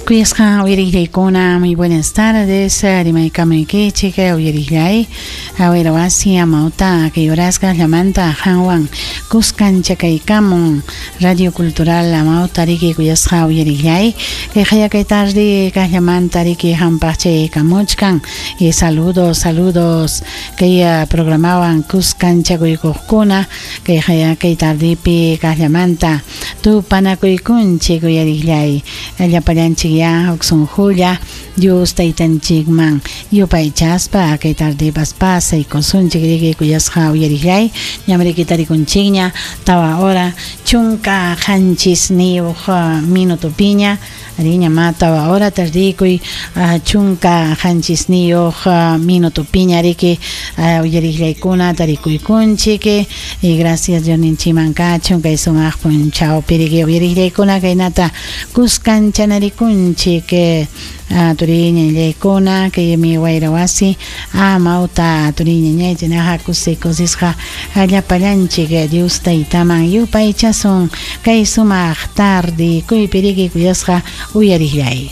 Kuyasqa uyariqllaykuna, muy buenas tardes, rimaykamuykichik uyariqllay, wasi amawta kay horasqa llamanta qanwan kuskanchakaykamun Radio Cultural amawta riki kuyasqa uyariqllay, kay kay tarde kaqllamanta riki hampaq chaykamuchkan y saludos, saludos kay programawan kuskanchakuykuqkuna kay kay tardepi kaqllamanta tupanakuykunchik uyariqllay, llapallanchik ya huk sunqulla Dios taytanchikman yupaychaspa kay tardepas pasaykusunchik riki kuyasqa uyariqllay, ñam riki tarikunchikña 4 hora 17 minutopiña riña ma 4 hora tardikuy 17 minutopiña riki uyariqllaykuna tarikuykunchik y gracias Diosninchikman kachun kay sumaq punchawpi riki uyariqllaykuna kaynata kuskanchanarikunchik turiñañaykuna kaymi wayra wasi amawta turiñañay chaynaqa kusi kusisqa llapallanchik Dios taytaman yupaychasun kay sumaq tardikuypi riki kuyasqa uyariqllay.